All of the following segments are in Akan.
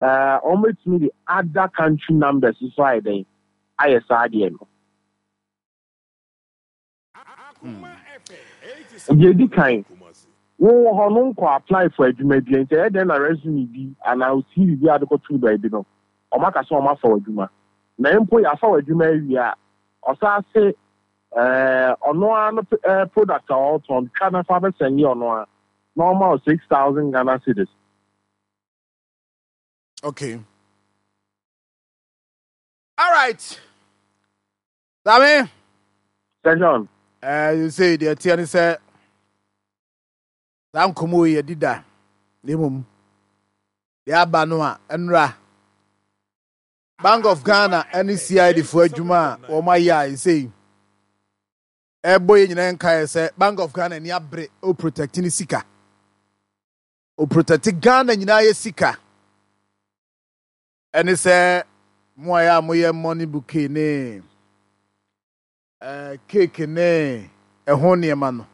Ɛɛ wɔbɛtumi de other country numbers nso ayɛ dɛn ayɛ saa adeɛ no. Deɛ edi kan, wo wɔ hɔ no nkɔ apply for adwuma bi nti ɛyɛ dɛn na resume bi anaa wo CV bi a wode kɔtoo baabi no wɔn aka sɛ wɔn afa w'adwuma. Na mpo yɛafa w'adwuma awie a, ɔsan se ɛɛ ɔno ara no ɛɛ product a ɔretɔn twa na fa bɛsɛnde ɔno ara na ɔma wo 6,000 Ghana cedis. Okay. All right. Dame. Sir John. Eh, you say deɛ teɛ ne sɛ saa nkɔmmɔ yi yɛdi da na mmom deɛ aba no a ɛnora Bank of Ghana ne CID foɔ adwuma a wɔn ayɛ a ɛsei ɛbɔ yɛ nyinaa nkaeɛ sɛ Bank of Ghana ani abere o protect ne sika o protect Ghana nyinaa yɛ sika Ɛne sɛ mo a ɛyɛ a moyɛ money bouquet ne eh, cake ne ɛho nneɛma no.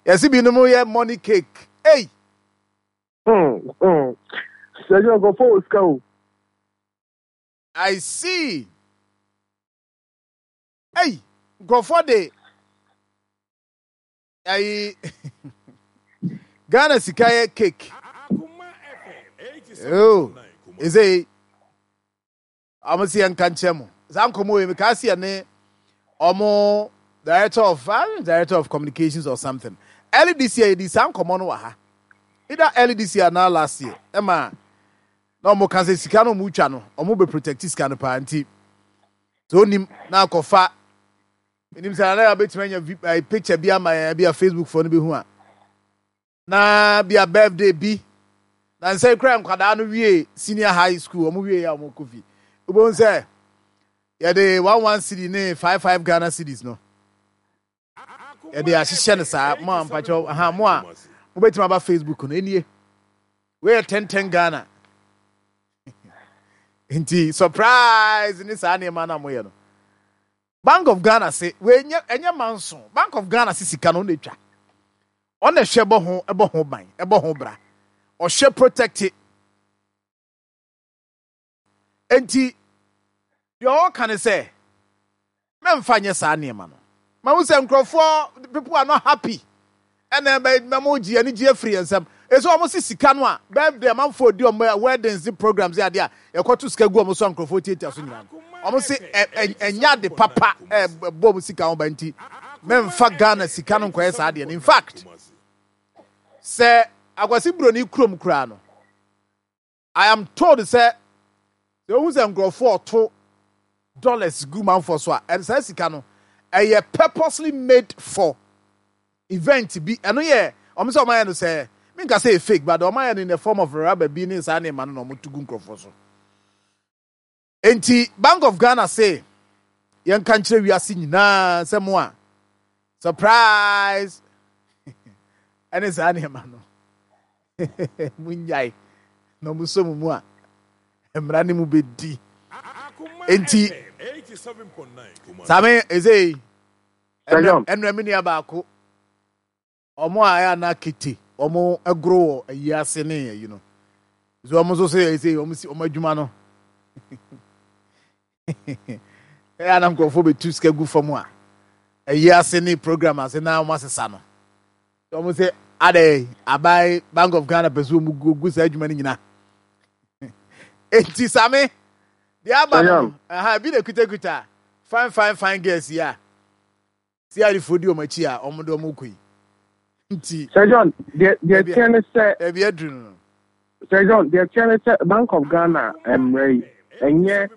Yɛse binom yɛ money cake. Ei! Sɛ yɛ nkurɔfoɔ wɔ sika o. I see. Ei, nkurɔfoɔ de Ayi Ghana sika yɛ cake. Oh, ɛsɛ ɔmo si yɛn nka nkyɛn mo. Saa nkɔmɔ yi mekaa si yɛ ɔmo director of director of communications or something. Early this year yɛdi saa nkɔmɔ no wɔ ha. Either early this year na last year. Ɛma na ɔmo ka sɛ sika no ɔmo twa no ɔmo bɛ protect sika no paa nti. So onim na akɔfa. Menim sɛ Nana bɛtumi anya vi eh, picture bi ama yɛn bi a Facebook foɔ no bɛhu a. Na bi a birthday bi. Na nsɛ kura nkwadaa no wie senior high school, wɔn wie a wɔn kɔ fi. Wobɛhu sɛ yɛde 11 cedi ne 55 Ghana cedis no. Yɛde ahyehyɛ no saa mo a mpakyɛw aha mo a mobɛtumi aba Facebook no enie. Wei yɛ 10 10 Ghana. Nti surprise ne saa nneɛma no a moyɛ no. Bank of Ghana se wei nyɛ ɛnyɛ manso. Bank of Ghana se sika no ɔna etwa. Ɔna ɛhwɛ bɔ ho ɛbɔ ho ban ɛbɔ ho bra. Ɔhwɛ protect. Enti deɛ ɔka ne sɛ mɛmfa nyɛ saa nneɛma no. Mahu sɛ nkurɔfoɔ people are not happy Ɛna ɛbɛ na mo gye anigye afiri yɛn nsam. Ɛsɛ wɔn se sika no a birthday amanfoɔ di wɔn weddings ne programs ne adeɛ a yɛkɔto sika gu wɔn so a nkurɔfoɔ tiatia so nyinaa no. Wɔn se ɛnyɛ ade papa ɛbɔ wɔn sika ho ban nti mɛmfa Ghana sika no nkɔyɛ saa adeɛ no. In fact, sɛ Akwasi Broni kurom koraa no, I am told sɛ sɛ wohu sɛ nkurɔfoɔ ɔto dollars gu manfoɔ so a, ɛno saa sika no ɛyɛ purposely made for event bi. Ɛno yɛ wɔn sɛ wɔn ayɛ no sɛ menka sɛ ɛyɛ fake but wɔn ayɛ no in the form of rubber bi ne saa nneɛma no na wɔn to gu nkurɔfoɔ so. Enti Bank of Ghana se yɛnka nkyerɛ wiase nyinaa sɛ mo a surprise ɛne saa nneɛma no munnyae na ɔmo sɔ mo mu a mmara ne mu bɛdi. Enti same ɛsɛ ɛnura me nua baako Wɔn a ɛyɛ a na kete wɔn goro wɔ ayi ase ne ayi no. So wɔn nso so yɛ sɛ wɔn si wɔn adwuma no. Ɛyɛ a na nkurɔfoɔ bɛtu sika gu fam a ayi ase ne program ase na wɔn asesa no. Wɔn sɛ adɛ aban Bank of Ghana pɛ so wɔn gu gu saa adwuma no nyina. Enti same deɛ aba no ɛha ebi na ekutakuta fine fine fine girls yi a. CID foɔ di wɔn akyi a wɔn de wɔn kɔ yi nti. Sir John, deɛ deɛ teɛ ne sɛ. Baabi aduru no no. Sir John, deɛ teɛ ne sɛ Bank of Ghana mmara yi, ɛnyɛ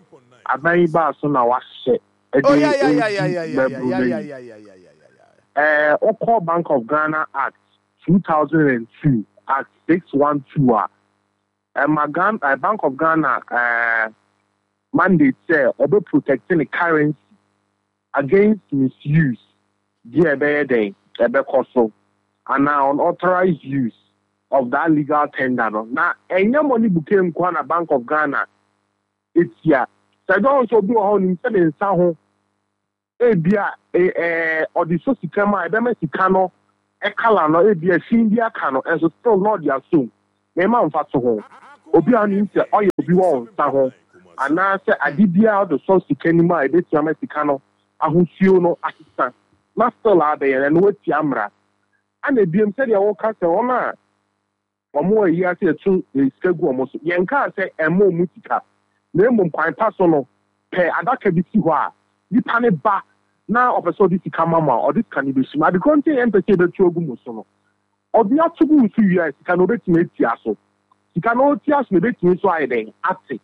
aban yi baa so na wahyɛ ɛde Oh yeah yeah yeah yeah redi yeah yeah mmabunu yeah no yeah yi. yeah yeah yeah yeah yeah. Ɛɛ wokɔ Bank of Ghana Act 2002, Act 612 a, ɛma Ghana, eh, Bank of Ghana ɛɛ mandate sɛ ɔbɛ protect ne currency against misuse deɛ ɛbɛyɛ dɛn ɛbɛkɔ so anaa unauthorized use of that legal tender no na ɛnyɛ money bouquet nkoa na Bank of Ghana tia. Sɛ John sɛ obi wɔ hɔ onim sɛ ne nsa ho ebia ɛɛ ɔde sɔ sika mu a ɛbɛma sika no colour no ebia fi bi aka no nso still na ɔde asom mema mfa to ho. Obi a ɔnim sɛ ɔyɛ obi wɔ wo nsa ho anaasɛ ade biara ɔde sɔ sika no mu a ɛbɛtumi ama sika no ahosuo no asesa na still a abɛyɛ no, ɛno watia mmara. Ɛna biom sɛdeɛ woka sɛ wɔn a wɔn ayi ase ɛto sika gu wɔn so, yɛnkaa sɛ ɛmma wɔn sika, na mmom kwan pa so no, pɛ adaka bi si hɔ a nipa no ba na ɔpɛ sɛ ɔde sika ma mo a, ɔde sika no bɛsi mu. Ade korɔ nti a yɛmpɛ sɛ yɛbɛto agu mo so no, ɔde ato gu wo so wie a, sika no ɔbɛtumi atia so. Sika no ɔtia so no, ɛbɛtumi nso ayɛ dɛn? Ate.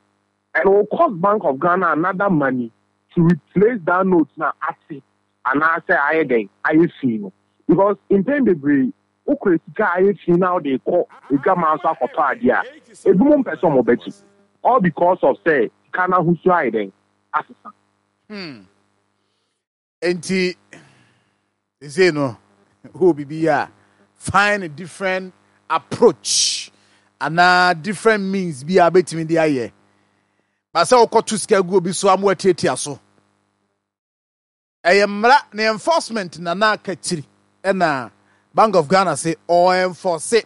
And it will cost Bank of Ghana another money to replace that note no a ate anaasɛ ayɛ dɛn? Ayɛ fi no. Because mpɛn bebree, wokura sika a ayɛ fi na wode rekɔ adwaman so akɔtɔ adeɛ a, ebinom mpɛ sɛ wɔbɛgye. All because of sɛ sika no ahosuo ayɛ dɛn? Asesa. Hmm. Enti, seesei no, wowɔ biribi yɛ a, find a different approach anaa different means bi a wobɛtumi de ayɛ. Ba sɛ wokɔto sika gu obi so ama watiatia so. Ɛyɛ mmara na enforcement na na aka kyiri ɛna Bank of Ghana se ɔ enforce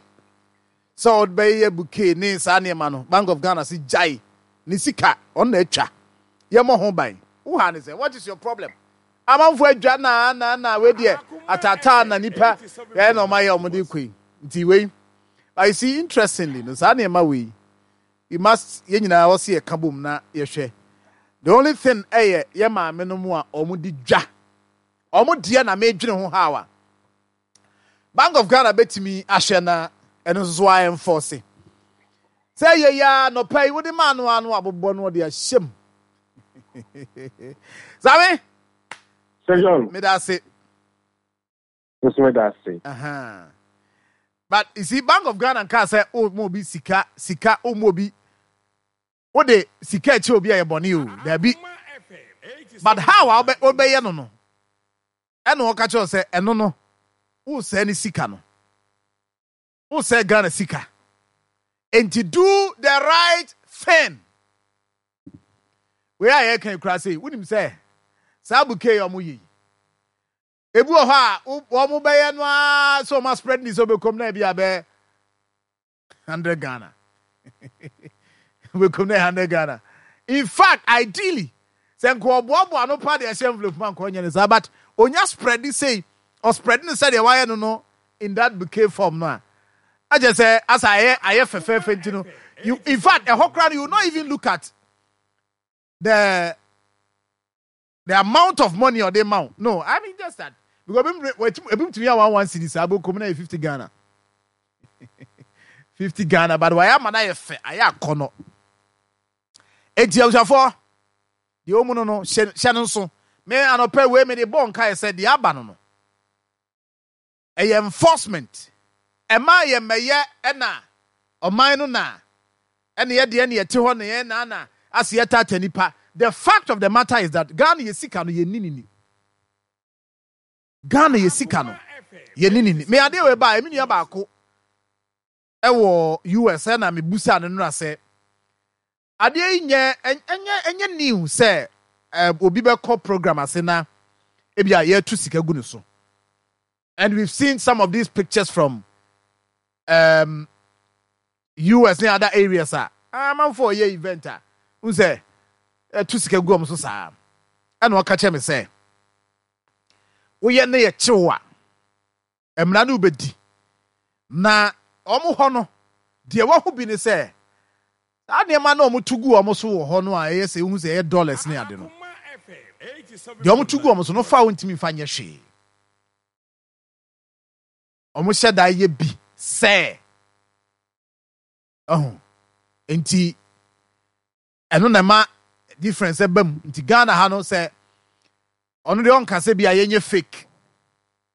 sɛ ɔde bɛyɛ bouquet ne saa nneɛma no. Bank of Ghana se gyae ne sika ɔno na atwa yɛmmɔ ho ban. Wo ha ne sɛ what is your problem? Amanfo adwa na na na wei deɛ ataataa na nipa yɛyɛ na ɔma yɛ ɔmo de kɔ yi nti wei. But you see, interestingly no, saa nneɛma wei we must yɛn nyinaa ɔse yɛka bom na yɛhwɛ. The only thing ɛyɛ yɛ maame no mu a ɔmo di dwa ɔmo deɛ na medwene ho how a Bank of Ghana bɛtumi ahwɛ na ɛno nso so a enforce sɛ yɛ yɛ a nɔpa yi wode maa no ano abobɔ no ɔde ahyɛ mu. Same meda ase. Nso meda ase. But you see, Bank of Ghana nkaa sɛ o ma obi sika sika o ma obi o de sika akyi obi a yɛ bɔne o daabi. But how a wobɛyɛ no no ɛna ɔka kyerɛ sɛ ɛno no wosɛe ne sika no, wosɛe Ghana sika, enti do the right thing. Wei a yɛka yi koraa sei, wonim sɛ saa bouquet yi a wɔyɛ yi, ebi wɔ hɔ a wɔn bɛyɛ no ara sɛ wɔn aspread ne sɛ wɔbɛkɔm na ebi abɛ 100 Ghana. Wobɛkum no 100 Ghana. In fact, ideally, sɛ nka ɔboaboa ano pa de ɛhyɛ envelope ma nka ɔnyɛ no saa, but onya spread sei, ɔspread no sɛdeɛ wayɛ no no in that bouquet form no a, akyɛ sɛ asa ayɛ ayɛ fɛfɛɛfɛ nti no, you in fact ɛhɔ koraa no you will not even look at the amount of money ɔde ma wo. No, I mean just that because ebi tumi yɛ 1 1 cedi saa bɛkɔ mu na yɛ 50 Ghana, 50 Ghana, but wayɛ ama no ayɛ fɛ, ayɛ akɔnɔ. Enti abusuafoɔ, deɛ ɔmu no hyɛ no nso. Me anɔpɛ wei mede bɔ nkaeɛ sɛ deɛ aba no, ɛyɛ enforcement. Ɛma yɛ mmɛyɛ ɛna ɔman no na ɛne yɛ deɛ ne yɛte hɔ ne yɛn na na ase yɛ tata nipa. The fact of the matter is that Ghana yɛ sika no yɛ ni ni. Ghana yɛ sika no yɛ ni ni. Me adeɛ wei ba emi nua baako ɛwɔ US ɛna me busa no nora sɛ adeɛ yi nyɛ ɛnyɛ new sɛ obi bɛkɔ program ase na ebi a yɛtu sika gu ne so. And we've seen some of these pictures from US and other areas a amanfo ɔyɛ event a n sɛ ɛtu sika gu wɔn so saa. Ɛna ɔka kyerɛ me sɛ woyɛ ne yɛ kyew a mmara no wobɛdi na wɔn hɔ no deɛ wahu bi ne sɛ saa nneɛma no a wɔn to gu wɔn so wɔ hɔ no a ɛyɛ sɛ ehu sɛ ɛyɛ dollars ne ade no, deɛ wɔn to gu wɔn so no fa a wɔntumi nfa nyɛ hwee. Wɔn hyɛ da yɛ bi sɛ ɛho nti ɛno na ɛma difference ɛba mu. Nti Ghana ha no sɛ ɔno deɛ ɔnka sɛ bi a yɛnyɛ fake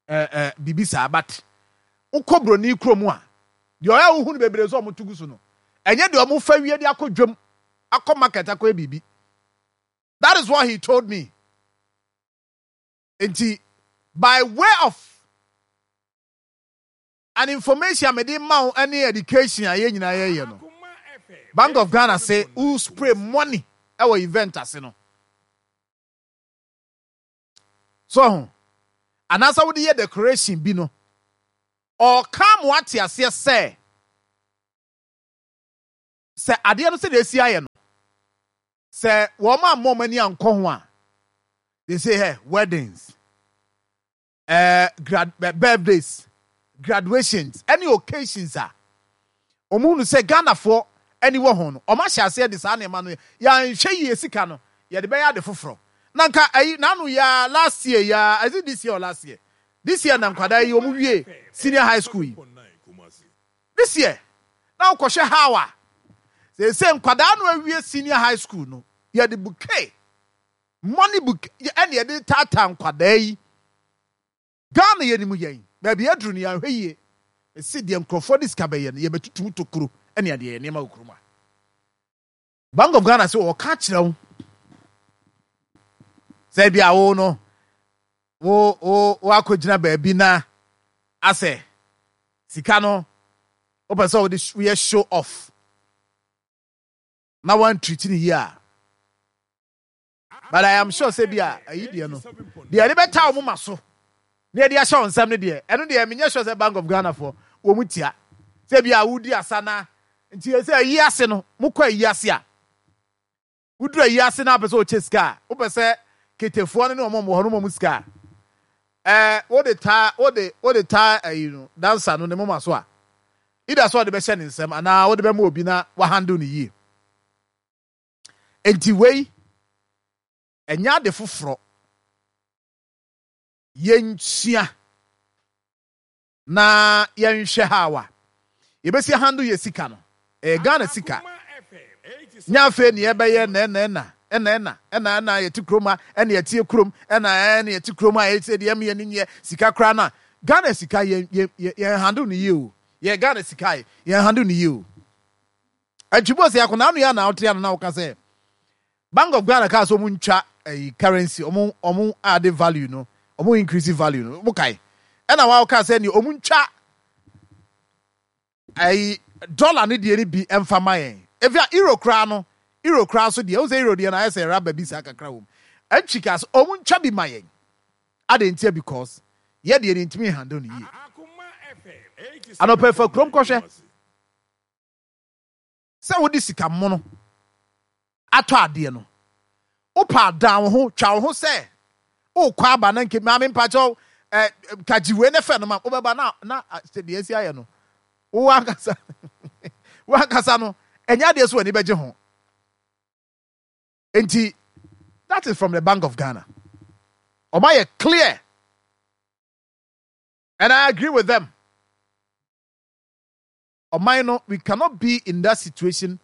ɛɛ biribi saa, but wokɔ broni kurom a deɛ ɔyɛ a wohu no bebree sɛ ɔmo to gu so no ɛnyɛ deɛ ɔmo fa wie de akɔ dwam akɔ market akɔyɛ biribi. That is what he told me. Nti by way of an information a mede ma wo ne education a yɛn nyinaa yɛyɛ no, Bank of Ghana se wo spray money ɛwɔ event ase no so ho anaasɛ wode yɛ decoration bi no, ɔka mo ate aseɛ sɛ Sɛ adeɛ no sɛdeɛ asi ayɛ no, sɛ wɔn ammɔ wɔn ani ankɔ ho a, they say hey, weddings, grad, birthdays, graduations, ɛne occasions a wɔn hunu sɛ Ghanafoɔ ani wɔ ho no, wɔn ahyɛ aseɛ de saa nneɛma no yɛanhwɛ yie sika no yɛde bɛyɛ ade foforɔ. Na nka ayi n'ano yaa last year yaa, is it this year or last year? This year na nkwadaa yi wɔn wie senior high school yi. This year na wokɔhwɛ how a seesei nkwadaa no awie senior high school no yɛde bouquet money bouquet ɛna yɛde taataa nkwadaa yi. Ghana yɛnim yɛn baabi aduru no yɛanhwɛ yie mese deɛ nkurɔfoɔ de sika bɛyɛ no yɛbɛtutu mu tokuro ɛne adeɛ yɛ nneɛma wɔ kurom a Bank of Ghana sɛ wɔka kyerɛ wo sɛ bi a wo no wo wo woakɔgyina baabi na asɛ sika no wopɛ sɛ wode woyɛ show off na woantriti no yie a but I am sure sɛ bi a ayi deɛ no deɛ ɛde bɛta wɔn ma so na yɛde ahyɛ wɔn nsam no deɛ ɛno deɛ menyɛ sure sɛ Bank of Ghana foɔ wɔn tia sɛ bi a wodi asa na nti sɛ ayi ase no mokɔ ayi ase a Woduru ayi ase na wopɛ sɛ wokyɛ sika a, wopɛ sɛ ketefoɔ no ne wɔn a wɔwɔ hɔ no ma wɔn sika a, ɛɛ wode taa wode wode taa ayi no dansa no ne moma so a, either sɛ ɔde bɛhyɛ ne nsam anaa wode bɛma obi na wahandle no yie. Enti wei ɛnyɛ ade foforɔ. Yɛnsua. Na yɛnhwɛ how a yɛbɛsi handle yɛ sika no. Ɛyɛ Ghana sika. Nyɛ afei ne yɛbɛyɛ na ɛna ɛna ɛna ɛna ɛna ɛna yɛte kurom ha ɛna yɛteɛ kurom ɛna ɛna yɛte kurom ha ɛsɛ deɛ ɛma yɛn nyɛ sika koraa na Ghana sika yɛn yɛn yɛn handle no yie o. Yɛ Ghana sika yɛn handle no yie o. Antwibo sɛ akɔnaa no yɛ na wote ano na woka sɛ Bank of Ghana kaa sɛ ɔmo ntwa ɛyi currency ɔmo ɔmo ade value no ɔmo increase value no mo kae ɛna wa ɔkaa sɛ ne ɔmo ntwa ɛyi dollar ne deɛ no bi ɛmfa ma yɛn efi a euro koraa no euro koraa so deɛ ɔmo sɛ euro deɛ no ayɛ sɛ raba bi saa kakra wɔm ɛntwi kaa sɛ ɔmo ntwa bi ma yɛn adɛn ntia because yɛ deɛ no ntumi handle no yie anɔpɛ fa kurom kɔhwɛ Sɛ wode sika mono atɔ adeɛ no, wopɛ a dan wo ho, twa wo ho sɛ wokɔ aba na nke maame mpakyɛw ɛ ka gye wei ne fɛ no ma wobɛba na na sɛ deɛ asi ayɛ no wo ankasa wo ankasa no ɛnyɛ adeɛ so w'ani bɛgye ho. Nti that is from the Bank of Ghana. Ɔma yɛ clear and I agree with them. Ɔman no we cannot be in that situation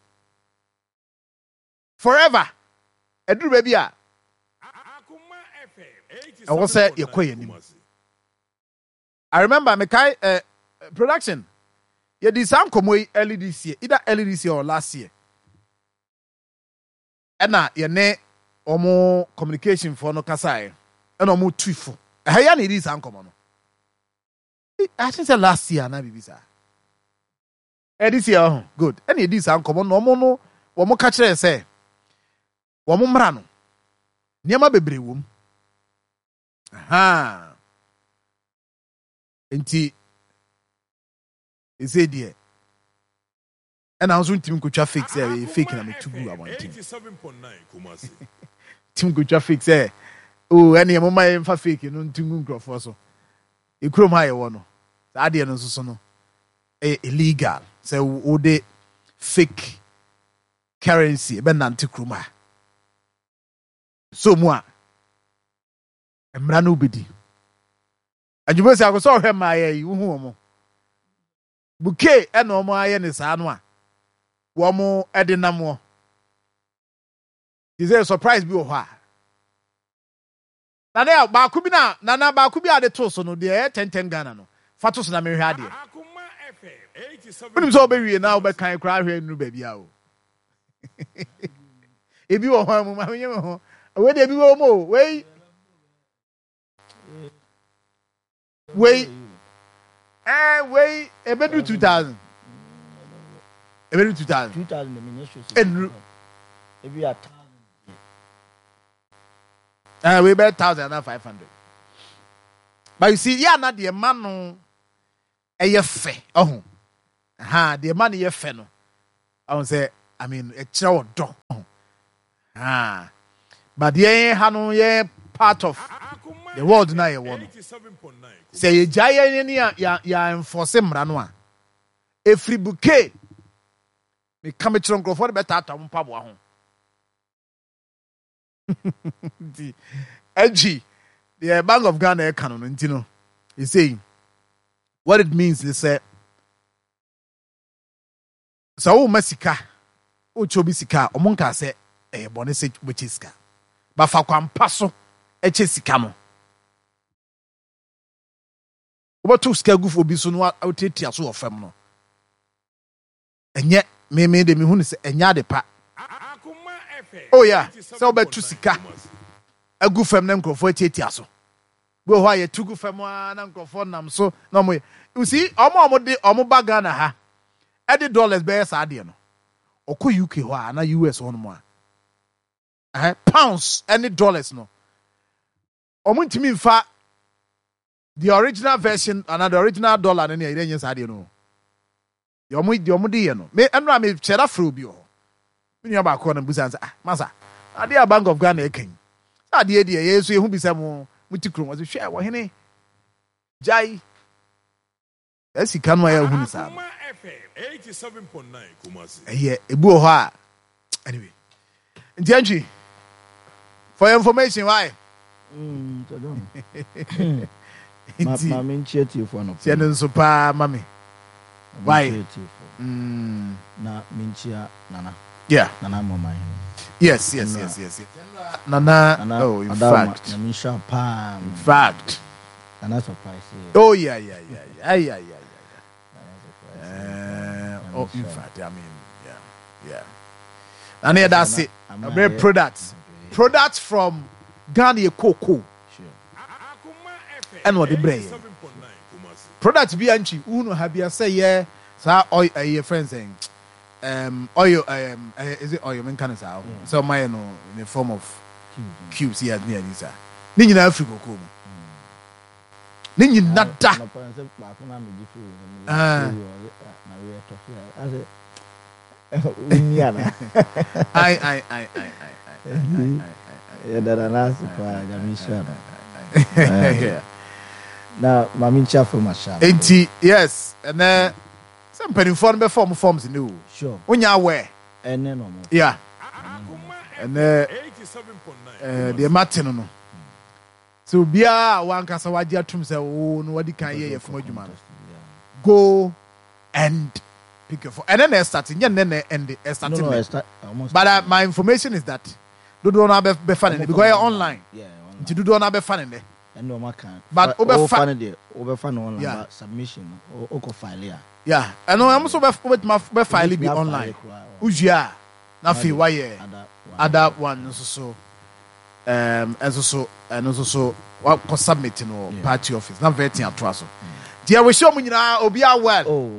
forever. Ɛduru baabi a ɛwɔ sɛ yɛkɔ yɛn anim. I remember mekae eh, production yɛdi saa nkɔmmɔ yi early this year, either early this year or last year. Ɛna yɛne wɔn communication foɔ no kasaeɛ ɛna wɔn tu fo. Ɛha yi a na yɛdi saa nkɔmmɔ no. I think sɛ last year anaa biribi saa. Eh, this year ɔho good. Ɛna yɛdii saa nkɔmmɔ no wɔn no wɔn ka kyerɛɛ sɛ wɔn mmara no nneɛma bebree wɔ mu. Ahaa. Nti ɛsɛ deɛ Ɛna wo nso ntumi nkotwa fake sɛ ɛyɛ fake na metu gu abɔnten. Ntumi nkotwa fake sɛ oh ɛne ɛmo ma yɛmfa fake no ntu ngu nkurɔfoɔ so. Ekurom ha yɛwɔ no saa adeɛ no nso so no ɛyɛ illegal sɛ wode fake currency ɛbɛnante kurom ha. So mu a mmara no wobɛdi. Adwuma si akɔ sɛ ɔhwɛ mmaayɛ yi wohu wɔn. Bouquet na wɔn ayɛ ne saa no a wɔn de nam wɔ. Te sɛ surprise bi wɔ hɔ a. Nana a baako bi na nana baako bi a de to so no deɛ ɛyɛ 10 10 Ghana no fa to so na mehwɛ adeɛ. Wonim sɛ wobɛwie na wobɛkan koraa ahwɛ nnuru baabi a o. Ebi wɔ hɔ mu ma menye me ho. Wei deɛ ebi wɔ mu o. Wei Wei ɛɛ wei ebedu 2000. Ebedu 2000. 2000 na menyɛ sure sɛ. Enuru. Ebi a thousand. Ɛɛ wei bɛ 1000 ana 500. But you see, yɛ ana deɛ ma no ɛyɛ fɛ ɔho. Ha deɛ ma no yɛ fɛ no. Ɔho sɛ. I mean ɛkyerɛ ɔdɔ. Ah, but yɛn ha no yɛn part of the world na yɛwɔ no. Sɛ yɛgyae yɛn ani a yɛ enforce mmara no a, ɛfiri bouquet meka mekyerɛ nkurɔfoɔ de bɛtaataa wɔn mpaboa ho. Nti ɛgye deɛ Bank of Ghana ɛka no no nti no, ɛsei what it means ne sɛ Sɛ woma sika, wokyɛ obi sika a, wɔn nkaa sɛ ɛyɛ bɔne sɛ wobɛkyɛ sika. But fa kwan pa so kyɛ sika no. Wobɛto sika agu obi so na wotiatia so wɔ fam no, ɛnyɛ me me de mehu no sɛ ɛnyɛ ade pa. Oh yeah, sɛ wobɛto sika agu fam na nkurɔfoɔ atiatia so. Bi wɔ hɔ a yɛtu gu fam ara na nkurɔfoɔ nam so na wɔyɛ. You see, wɔn a wɔde wɔn ba Ghana ha de dollars bɛyɛ saa adeɛ no, ɔkɔ UK hɔ a anaa US hɔnom a, ɛhɛ pounds ne dollars no, wɔn ntumi nfa the original version anaa the original dollar no ne ɛyɛ nyɛ saa adeɛ no. Deɛ ɔmo deɛ ɔmo de yɛ no me ɛnora me kyerɛ da frɛ obi wɔ hɔ me nua baako na busa sɛ ah masa adeɛ a Bank of Ghana ɛka yi sɛ adeɛ deɛ yɛn nso yɛhu bi sɛ mo mo ti kurom ɔsɛ hwɛ ɔhene gyae saa sika no a yɛhu no saa no ɛyɛ ebi wɔ hɔ a anyway nti ɛntwi for your information why. Mm, nti maame nkyia tiefo anɔpa. Tiɛ no nso paa ma me. Why? Mm. Na menkyia nana. Yeah. Nana mama hene. Yes. Nana, Nana oh, in fact. Nyame nhyira paa. In fact. Nana surprise. Oh yeah. Uh, oh, in fact, I mean, yeah. Na ne yɛda ase. Ɛbɛyɛ products. Products from Ghana yɛ cocoa. Ɛna ɔde brɛ yɛ. Product bi antwi wohunu ha bi sɛ yɛ saa oil ɛyɛ friends ɛn um, oil um, is it oil menka no saa sɛ ɔma yɛ no in the form of cubes yɛ ne yɛ saa ne nyinaa firi cocoa mu. Ne nyina da. Ai ai ai ai ai ai. Yɛda Nana ase paa, Nyame nhyira no. Na maame nkyia fam ahyɛ. Enti yes, ɛnɛ sɛ mpanimfoɔ no bɛfa wɔn forms ne o. Sure. Wonya aware. Ɛnɛ na wɔn. Yeah. Ɛnɛ ɛɛ deɛ mate no no. Sɛ obiara a wankasa wagye atum sɛ wo no wadi kan yɛ yafunu adwuma no, go and pick your phone. Ɛnɛ na ɛstarte, nyɛ nnɛ na ɛnde, ɛstarte nnɛ. But uh, my information is that dodoɔ no abɛfa ne nnɛ because ɛyɛ online. Nti dodoɔ no abɛfa ne nnɛ. Ɛnna wɔn aka. But wobɛfa ne deɛ wobɛfa no online but submission no wokɔ file a. Yeah, ɛno ɛmo nso wobɛtumi bɛ file bi online. Wowie a na afei wayɛ other one nso so. Um, ɛnso so, ɛno nso so, wakɔ submit no wɔ party office na vetting atoa so. Nti yɛwish wɔn nyinaa obiara well. Oh.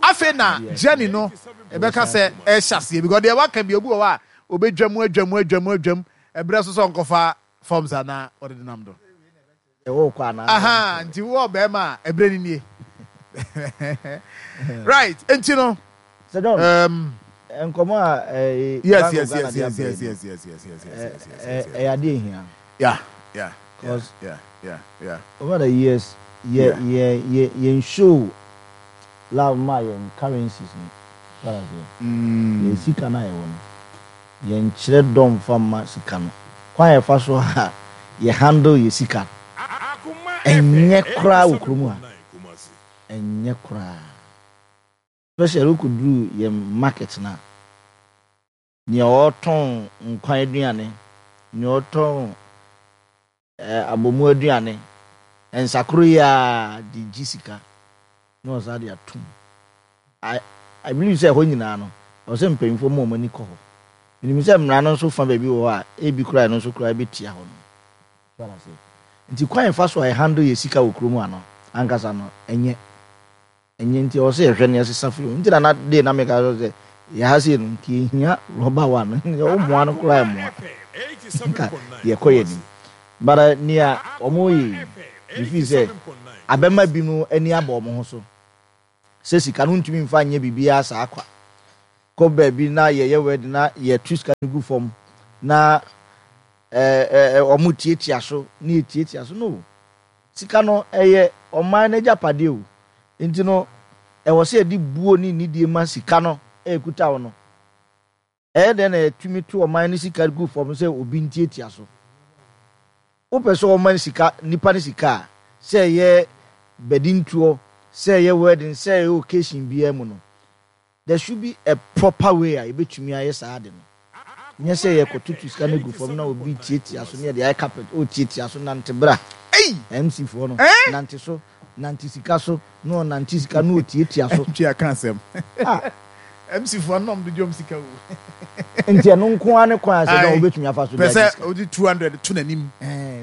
Afei na journey no ɛbɛka sɛ ɛhyɛ aseɛ because deɛ waka bi obi wɔ hɔ a obɛdwa mu adwa mu adwa mu adwa mu ɛberɛ so sɛ ɔnkɔfa forms anaa ɔde denam do. Wokɔ anaa? Aha, nti wowɔ ɔbarima a, ɛberɛ no nie. Right, nti no. Sir John, um, nkɔmɔ a eh, yes, Bank yes, of Ghana yes, de yes, abɛɛ yes, no, yes, yes, yes, yes, yes, yes, yes, yes, ɛyɛ adeɛ ehia. Yeah, Cause yeah. over the years, yɛ yɛ yɛ yɛn show love ma yɛn currencies no, wate aseɛ? Yɛn sika no a yɛwɔ no. Yɛnkyerɛ dɔ mfa mma sika no. Kwan a yɛfa so a yɛ handle yɛ sika ɛnyɛ koraa wɔ kurom ha. Ɛnyɛ koraa. Especially wokɔduru yɛn market no a, nea ɔretɔn nkwan aduane, nea ɔretɔn Abomu aduane, nsakoro yi ara de gye sika na wɔsan de atom. I I believe sɛ ɛhɔ nyinaa no, ɛwɔ sɛ mpanyinfoɔ ma wɔn ani kɔ hɔ. Menim sɛ mmara no nso fa baabi wɔ hɔ a, ebi koraa ɛno nso koraa bɛtia hɔ nom. So ate aseɛ? Nti kwan a yɛfa so a yɛ handle yɛ sika wɔ kurom ha no ankasa no, ɛnyɛ. Ɛnyɛ nti ɛwɔ sɛ yɛhwɛ na yɛsesa firi ho. Nti na na day na meka sɛ sɛ yɛ ha sei no nka yɛhia rɔba wa no. Wo mmoa no koraa mmoa. Nka yɛkɔ yɛ anim. But eh, nea wɔn yɛ yi, me feel sɛ abɛma binom ani abɔ wɔn ho so sɛ sika no ntumi mfa nyɛ biribiara saa kwa. Kɔ baabi na yɛyɛ wedding na yɛto sika no gu fam na ɛɛ wɔn tiatia so na yɛtiatia so no. Sika no ɛyɛ ɔman no agyapadeɛ o. Nti no ɛwɔ sɛ yɛde buo ne nidie ma sika no a ɛkuta wo no. Ɛyɛ dɛn na yɛtumi to ɔman no sika gu fam sɛ obi ntiatia so? Wopɛ sɛ wɔma sika nipa no sika a, sɛ ɛyɛ badintoɔ, sɛ ɛyɛ wedding, sɛ ɛyɛ occasion biara mu no, there should be a proper way a yɛbɛtumi ayɛ saa ade no. Nyɛ sɛ yɛkɔtoto sika no gu fam na obi tiatia so na yɛde ayɛ carpet, ɔretiatia so nante bra. MC foɔ no, nante so, nante sika so, na ɔnante sika na ɔtiatia so. Ntwi aka asɛm. Ah. MC foɔ no na ɔmo de dwom sika o. Nti ɛno nko ara ne kwan a sɛ dɔn wobɛtumi afa so de agye sika. Pɛ sɛ ɔde 200 to n'anim.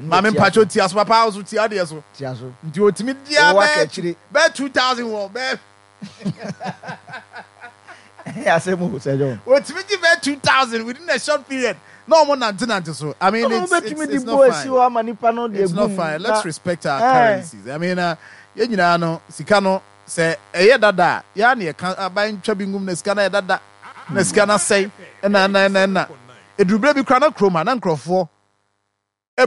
Maame mpakyɛ tia so papa so tia deɛ so. Tia so. Nti ɔtumi dia bɛɛ bɛɛ 2000 wɔ bɛɛ. Ɛyɛ asɛm o Sir John. Wɔtumi gye bɛyɛ 2000 within a short period na wɔn nante nante so. I mean it's it's it's not fine. It's not fine. Let's respect our currencies. I mean uh, yɛn nyinaa no sika no sɛ ɛyɛ dada a yɛa na yɛka aban ntwa bi ngum na sika no yɛ dada na sika no asɛe ɛna ɛna ɛna ɛna eduru berɛ bi koraa na kurom ha na nkurɔfoɔ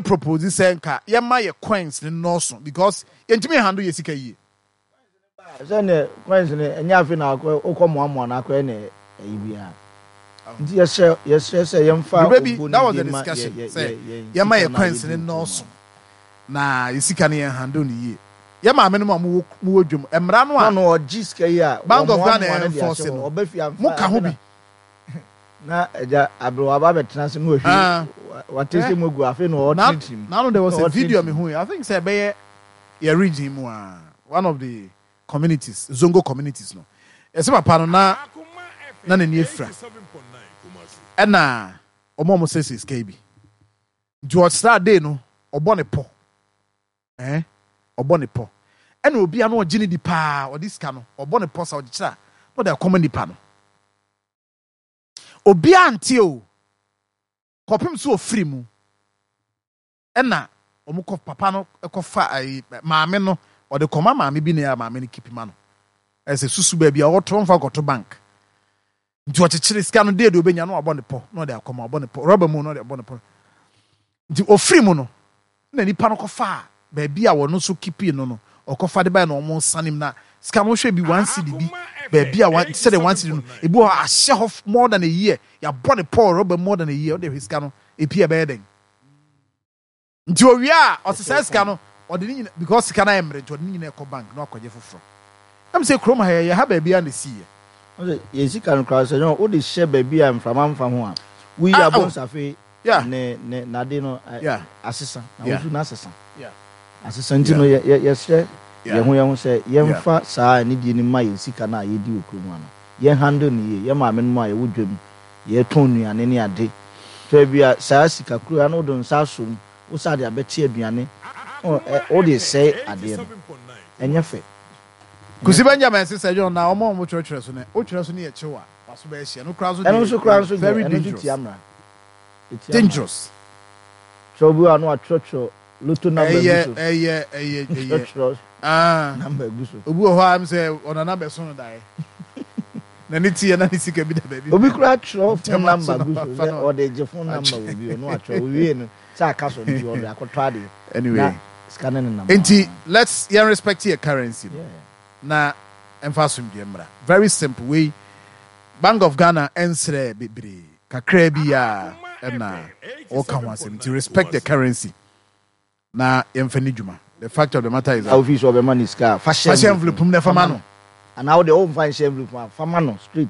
propose sɛ nka yɛma yɛ coins no nnɔɔso because yɛntumi handle yɛ sika yie. Sɛ ne coins no ɛnyɛ afei na akɔ wokɔ moamoa no akɔyɛ ne ɛyi biara nti yɛsrɛ yɛsrɛ sɛ yɛmfa Berɛ bi obuo that ne was the die ma yɛ discussion yɛ sɛ yɛ yɛn yɛma sika yɛ no a coins yɛdi no wɔ kurom nnɔɔso ha. na yɛ sika no yɛn handle no yie. Yɛ maame nom a mowɔ mowɔ dwam mmara no Na a ɔno ɔgye sika yi a Bank of Ghana wɔmoamoa no de ahyɛ enforce hɔ no ɔba fie amfa moka ho afei na bi. Na agya aberewa aba abɛtena ase na wahwie Ah. watese Eh. mu agu afei na Na ɔretenetene mu. na there was Na a video ɔretenetene me mu. hu I think sɛ ɛbɛyɛ yɛ region mu a one of the communities Zongo communities no yɛsɛ papa no na na n'ani afira ɛna wɔn a wɔn sɛsɛ sika yi bi nti ɔsra day no ɔbɔ ne pɔ eh ɔbɔ ne pɔ ɛna obi a na ɔgye ne di paa ɔde sika no ɔbɔ ne pɔ sa ɔde kyerɛ a na ɔde akɔma nipa no obi ante o kɔpem so ofiri mu ɛna wɔn kɔ papa no kɔfa ayi maame no ɔde kɔma maame bi na yɛ maame no kipi ma no ɛsɛ susu baabi a ɔtɔ nfa kɔto bank nti ɔkyekyere sika no deɛ deɛ obenya no wabɔ ne pɔ na ɔde akɔma ɔbɔ ne pɔ rɔba mu na ɔde abɔ ne pɔ nti ofiri mu no na nipa no kɔfa baabi a wɔn nso kipi no no ɔkɔfa de bae na wɔn nsa nim na sika no hwɛ bi 1 cedi bi baabi a one sɛdeɛ 1 cedi no ebi wɔ hɔ ahyɛ hɔ more than a year yɛabɔ ne pɔ rɔba more than a year ɔde hwɛ sika no epi ɛbɛyɛ dɛn nti owie a ɔsesa sika no ɔde ne nyina because sika no ayɛ mmerɛ nti ɔde ne nyina ɛkɔ bank na wakɔgye foforɔ ɛm sɛ kurom ha yɛyɛ ha baabi a na esi yɛ. Ɔsɛ yɛn sika no koraa sɛ yɛn wode hyɛ baabi a mframa mfa ho a woyi Ah, abo oh. nsafe ne ne n'ade no asesa na wosu no asesa asesa nti no yɛ yɛ yɛsrɛ yɛn ho yɛn ho sɛ yɛmfa saa anidie no ma yɛn sika no a yɛdi wɔ kurom ha no yɛn handle no yie yɛn maame no mu a yɛwɔ dwam yɛtɔn nnuane ne ade fɛ bi a saa sika kuro ya no wode nsa asom wo sa de abɛte aduane ɔ ɛ wode sɛe adeɛ no ɛnyɛ fɛ. Kusi Benjamin sɛ John na ɔmo a ɔmo twerɛtwerɛ so no wotwerɛ so ne yɛ kyew a waso bɛyɛ hyɛ no koraa so ɛno nso koraa nso deɛ very ɛno nso dangerous tia mmara ɛtia mmara dangerous kyerɛ obi a na watwerɛtwerɛ lotto number gu ɛyɛ so ɛyɛ ɛyɛ ɛyɛ twerɛtwerɛ ah number gu so obi wɔ hɔ a m sɛ ɔnana bɛso no daeɛ na ne ti yɛ na ne sika bi da baabi obi koraa twerɛ phone ntɛm aso number na gu so wafa sɛ no ɔde gye phone number wɔ bi ɔno atwerɛ owie no sɛ aka so nti ɔde akɔtɔ adeɛ na anyway sika no nenam nti aa let's yɛn respect yɛ currency no yeah. na ɛmfa asomdwe mmra very simple wei Bank of Ghana ɛnsrɛ bebree kakra bi a ɛna ɔka ho asɛm nti respect the currency na yɛmfa ne dwuma. The fact of the matter is a that ofi sɛ ɔbɛma ne sika a fa hyɛ fa hyɛ envelope envelope mu na fa ɛfa ma ma no no. anaa wode womfa nhyɛ envelope mu a fa ma no straight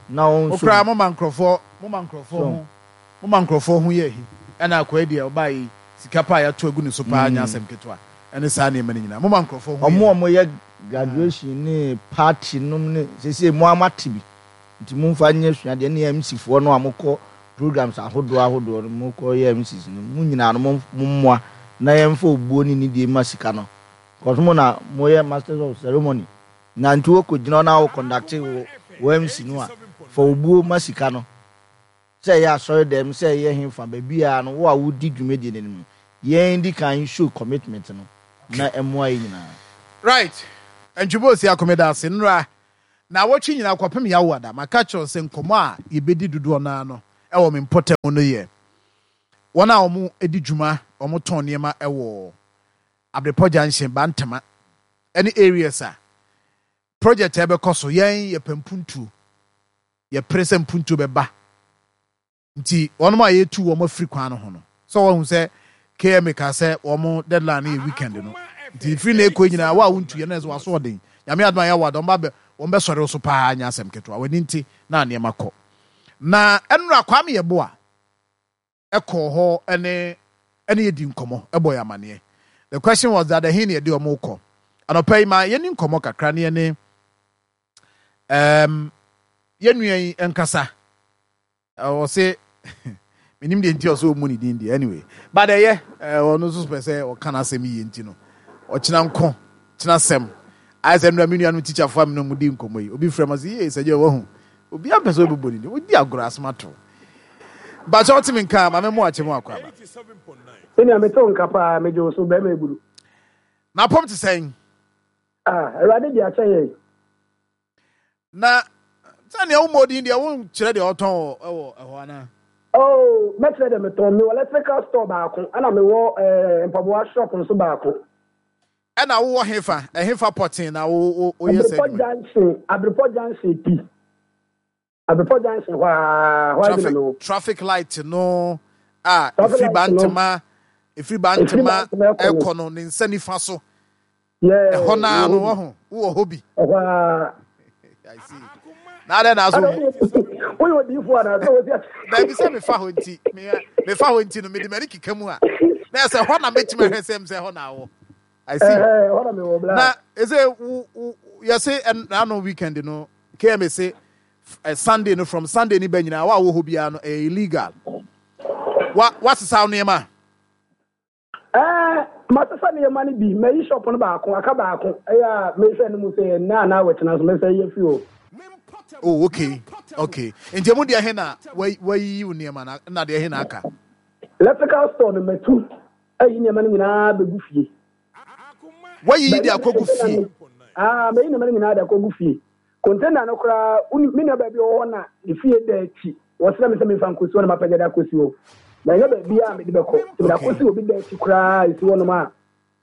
na ɔnso Okura mu moma nkurɔfoɔ moma nkurɔfoɔ so ho moma nkurɔfoɔ ho yɛ ahi ɛna akɔyɛ deɛ ɔbaa yi sika pa a yɛato agu ne so paa nyɛ asɛm ketewa ɛne saa nneɛma no nyinaa moma nkurɔfoɔ ho yɛ ɔmo a ahi. ɔmo yɛ graduation ne party nom ne sese mo amate bi nti momfa nyɛ suadeɛ ne MC foɔ no a mokɔ programs ahodoɔ ahodoɔ no mokɔ yɛ MCs no mo nyinaa no mo mommoa na yɛmfa obuo ne nidie ma sika no because mo na moyɛ masters of ceremony na nti wokɔ gyina hɔ na wo conduct wo wo MC no a fa obuo ma sika no sɛ ɛyɛ asɔre dɛm sɛ ɛyɛ hefa baabiara no wo a wodi dwumadie no anim no yɛn di kan show commitment no na ɛmmoa yɛn nyinaa. Right. Ntwebo si akomeda ase nnora. Naawɔtwe nyinaa kɔpem Yawoada, maka kyerɛ wo sɛ nkɔmmɔ a yɛbɛdi dodoɔ no ara no wɔ me mpɔtam no yɛ wɔn a wɔdi dwuma, wɔtɔn nneɛma wɔ Abrepɔ Junction, Bantama ne areas a project a ɛbɛkɔ so. Yɛn yɛpɛ mpuntuo, yɛpere sɛ mpuntuo bɛba. Nti wɔnom a yɛtu wɔn afiri kwan no ho no, sɛ wɔahu sɛ KMA kaa sɛ wɔn deadline no yɛ weekend no, nti firi na ɛkɔ nyinaa wo a wontu yɛ no ɛsɛ waso ɔden. Nyame adom a yɛwɔ ada wɔn ba wɔn bɛsɔre wo so paa nyɛ asɛm ketewa. W'ani nte na nneɛma kɔ. Na ɛnora Kwame Yeboah ɛkɔɔ hɔ ɛne ɛne yɛdi nkɔmmɔ ɛbɔ yɛ amaneɛ. The question was that ɛhe na yɛde wɔn kɔ. Anɔpa yi ma yɛni nkɔmmɔ kakra ne yɛne um, yɛn nua yi nkasa. Ɔse menim deɛ nti ɔsɛ ɔmmu ne din deɛ anyway but ɛyɛ ɔno nso pɛ sɛ ɔka n'asɛm yie nti no ɔkyena nko kyena sɛm ayɛ sɛ nnura me nuanom tikyafoɔ a me ne wɔn di nkɔmmɔ yi obi frɛ ma sɛ yie sɛ gye wahu obi ampɛ sɛ ɔbɛbɔ ne din wodi agorɔ asɛm ato bakyɛ wote me nka ma me mo akyɛ mu akɔ aba. Sɛnea mete wo nka paa megye wo so bɛrima eburu. Na apɔm te sɛn? Ah, Awurade de akyɛ yɛn. Na sɛnea wommɔ din deɛ wonkyerɛ deɛ ɔtɔn wɔ ɛwɔ ɛhɔ anaa? Oh, mɛkyerɛ deɛ metɔn. Mewɔ electrical store baako, ɛna mewɔ eh, mpaboa shop nso baako. Ɛna wowɔ hefa? Ɛhefa pɔtee na wo wo woyɛ saa Abrepɔ adwuma yi? Junction, Abrepɔ Junction pi. Abrepɔ Junction hɔ ara, hɔ ara bi na Traffic mewɔ. traffic light no a Traffic ɛfiri light no, Bantama ɛfiri ɛfiri Bantama Bantama ɛkɔ no. ɛkɔ no ne nsa nifa so. Yeah, Ɛhɔ no mewɔ ara hɔ no bi. wahu wowɔ hɔ bi. Ɛhɔ ara. I see. Na adɛn na asɛ Ada wo woyɛ woyɛ odiyifoɔ anaa sɛ wosi ase. Daabi sɛ mefa hɔ nti mefa hɔ nti no mede m'ani keka mu a na ɛsɛ hɔ na mɛtumi ahwɛ sɛm sɛ hɔ na awɔ. I see. Ɛhɛ hɔ na mewɔ bla. Na ɛsɛ wo wo yɛse ɛno weekend no KMA se Sunday no from Sunday ni ba nyinaa wa wɔ hɔ biara no ɛyɛ illegal. Wa wasesa wo nneɛma. Ɛɛ, masesa nneɛma no bi. Mayi shop no baako, aka baako. Ɛyɛ a mehwɛ no mu sɛ nnɛ anaa wɔkyena nso mɛsan ayi afiri hɔ. Oh, okay, okay. Nti emu deɛ he na wayiyi wo nneɛma na na deɛ he na aka? Electrical store no matu ayi nneɛma no nyinaa bɛgu fie. Wayiyi de akɔgu fie? Ah, mayi nneɛma no nyinaa de akɔgu fie. Container no koraa, me nua baabi ɔwɔ hɔ na ne fie da akyi. Wɔsrɛ me sɛ memfa nkɔsi hɔ na mapagya de akɔsi hɔ. Manya baabi a mede bɛkɔ. Nti mede akɔsi obi da akyi koraa a ɛsi hɔnom a,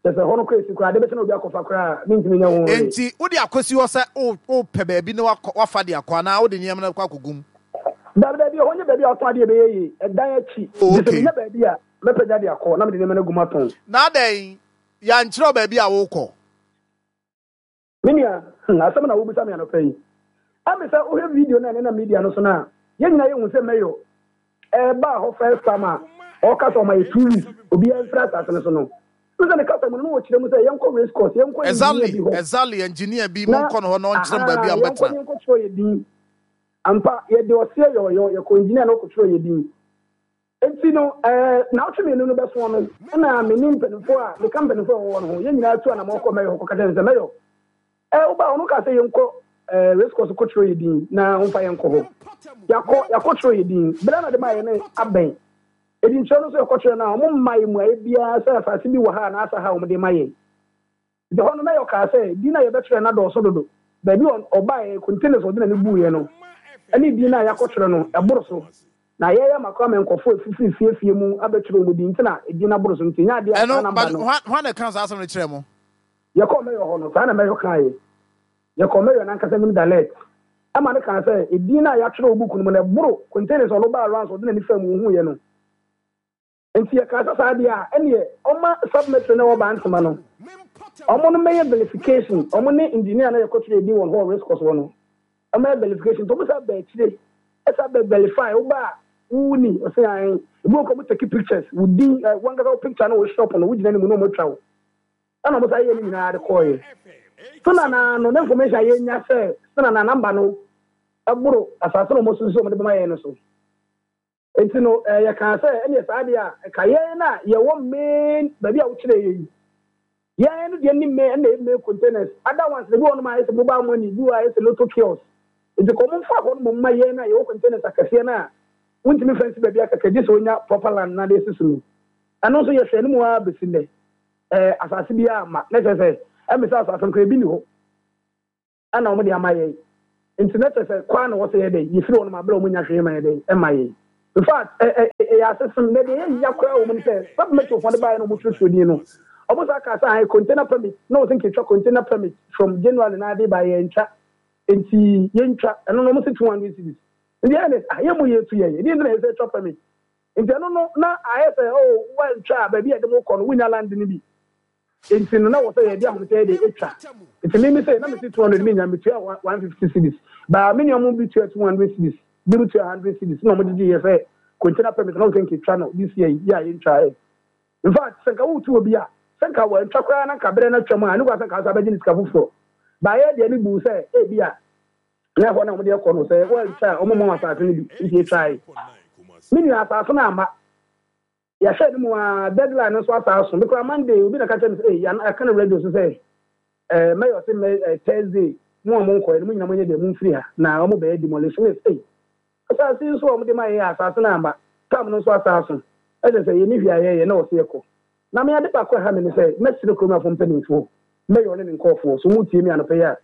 kyerɛ sɛ hɔ no koraa ɛsi koraa, ade bɛkyɛ na obi akɔfa koraa a, mentumi nyɛ ho hwee. Enti wode akɔsi hɔ sɛ wopɛ baabi na woafa de akɔ anaa wode nneɛma no bɛkɔ akɔgu mu? Dabi, dabi, ɛhɔ nyɛ baabi a wɔtɔn adeɛ ɛbɛyɛ yie. Ɛdan akyi. Oh, Nti sɛ okay. menya baabi a, mɛpagya de akɔ na mede nneɛma no agu mu atɔn. Na adɛn, yɛankyerɛ wo baabi a worekɔ? Me nua, hmm, asɛm na wobisa me anɔpa yi. Ɛme sɛ wohwɛ video no a ɛnenam media no so no a, yɛn nyinaa yɛhu sɛ Mayor ɛbaa hɔ first time a ɔka sɛ ɔma yɛ 2 weeks obiara mfiri asase no so no. Wohu sɛ ne kasa mu no na wɔkyerɛ mu sɛ yɛnkɔ race course, yɛnkɔ engineer Exactly, bi hɔ. exactly, engineer bi, Na monkɔ no hɔ na ɔnkyerɛ mo baabi ahaa, a yɛnkɔ mobɛtena. ne yɛnkɔtwerɛ yɛ din. Ampa, yɛde ɔseɛ yɔɔyɔ, yɛkɔ engineer na ɔkɔtwerɛ yɛ din. Enti no, naawɔtwe mmienu no bɛsoɔ no, ɛna me ne mpanimfoɔ a meka mpanimfoɔ a wɔwɔ no ho, yɛn nyinaa tu anamɔn kɔɔ Mayor hɔ kɔka kyerɛɛ no sɛ, Mayor, wobaa hɔ no wokaa sɛ yɛnkɔ race course kɔtwerɛ yɛn din na womfa yɛn nkɔ hɔ. Yɛakɔ, yɛakɔtwerɛ yɛn din. Berɛ a na de maa yɛn no abɛn. Edintwerɛ no nso yɛkɔtwerɛ no a, wɔmmaa yɛn mmuaeɛ biara sɛ asase bi wɔ ha anaasɛ ha a wɔde rema yɛn. Nti hɔ no, Mayor kaa sɛ, Din a yɛbɛtwerɛ no adɔɔso dodo. Baabi a ɔbaeɛ, containers a ɔde n'ani buiɛ no, ne din no a yɛakɔtwerɛ no, ɛboro so. Na yɛreyɛ ama koraa ma nkurɔfoɔ a ɛfifiri fie fie mu abɛtwerɛ wɔn din nti na edin no aboro so. Nti ɛnyɛ adeɛ a saa Ɛno, number but no. hwan, hwan na ɛkaa saa asɛm no kyerɛɛ mo? Yɛkɔɔ Mayor hɔ no, saa na Mayor kaeɛ. Yɛkɔɔ Mayor no ankasa anim direct ma no kaa sɛ, edin no a yɛatwerɛ wɔ book no mu no, ɛboro containers a ɔno baa rounds a ɔde n'ani faa mu ɔhuiɛ no. Nti yɛkaa sɛ saa deɛ a ɛneɛ ɔma sub-metro no a ɛwɔ Bantama no ɔmo no mmɛyɛ verification, ɔmo ne engineer no a yɛkɔtwerɛɛ din wɔn hɔ wɔ race course hɔ no ɔmmɛyɛ verification. Nti ɔmo san baa akyire ɛsan bɛ verify, woba a wo ni? Ɔse ae. Ebi wɔ hɔ koraa ɔmo take pictures, wo din, wankasa wo picture ne wo shop no wogyina anim na ɔmo atwa wo. Ɛna ɔmo san yɛɛ ne nyinaa de kɔɔeɛ. Sena naa no, ne information a yɛnya sɛ Sena naa number no ɛboro asase no a ɔmo susu sɛ ɔmo de bɛma yɛn no so. Enti no, yɛkaa sɛ, ɛnneɛ saa deɛ a, ɛka yɛn a yɛwɔ main baabi a wokyerɛɛ yɛn yi. Yɛn no deɛ ne main, ɛnna ɛyɛ main containers. Other ones no, ebi wɔ hɔnom a ayɛ sɛ mobile money, ebi wɔ hɔ a ayɛ sɛ lotto kiosk. Enti kɔ momfa hɔ no mmom mma yɛn a yɛwɔ containers akɛseɛ no a wontumi mfa nsi baabi akɛkɛ gye sɛ wonya proper land na de asi so no. Ɛno nso yɛhwɛɛ no mu ara bɛsi nnɛ, asase biara amma. Na kyerɛ sɛ, ɛmmɛ sɛ asase no koraa ebi nni hɔ. Ɛna wɔde ama yɛn. Nti na kyerɛ sɛ kɔ ara na ɛwɔ sɛ yɛyɛ dɛn? Yɛfiri hɔnom a berɛ a wɔnnya hwee ma yɛ dɛn? Ɛma yɛn. In fact, ɛ, ɛ, ɛyɛ asesem. Na deɛ ɛyɛ ya koraa wɔ mu ne sɛ, Sub Metrofoɔ no baeɛ na wɔtwerɛtwerɛ din no, wɔsan kaa sɛ ae, container permit, na wɔse nka yɛtwa container permit from January na ade ba, yɛantwa. Nti yɛntwa. Ɛno no wɔse 200 cedis. Nti ɛyɛ ne, ah, yɛn mmom yɛtu yɛn. Ɛdeɛn nti na ɛsɛ sɛ yɛtwa permit? Nti ɛno no, na ayɛ sɛ, oh, woantwa a, baabi a yɛde mo kɔ no, wonnya land no bi. Nti no na wɔ sɛ yɛde ahomete de etwa. Nti me me sei na mese 200 me nya metua 150 cedis. Baa me nua mo bi tua 200 cedis, bi mo tua 100 cedis na ɔmo gyegye yɛ sɛ container permit na ɔmo sɛ nka etwa no this year yi yɛ a yɛntwa ɛ. In fact sɛ nka wotu obi a sɛ nka wantwa koraa na nka berɛ no atwam a ɛno koraa sɛ nka asa bɛgye ne sika foforɔ. Baa yɛ deɛ ne buu sɛ ebi a na ɛhɔ na ɔmo de ɛkɔ no sɛ wantwa a ɔmo mma wɔn asase no bi nti etwae. Me nua asase no amma. Yɛhwɛ no mu aa deadline no nso asa aso. Me koraa Monday obi na ka kyerɛ me sɛ ei yɛaka no radio so sɛ eh, mɛyɛ ɔse mɛ eh, Thursday mo a monkɔɛ no mo nyina monyɛ deɛ momfiri ha na wɔn bɛyɛ demolition. Me ei asase yi nso a wɔde ma yɛn asase no amba tam no nso asa aso ɛkyɛ sɛ yɛni hwee a yɛyɛ na wɔse yɛkɔ. Na me ade baako a ɛha me ne sɛ mɛsrɛ kurom afo mpanimfoɔ mɛyɛ ɔne ne nkurɔfoɔ so motie me anɔpa yi a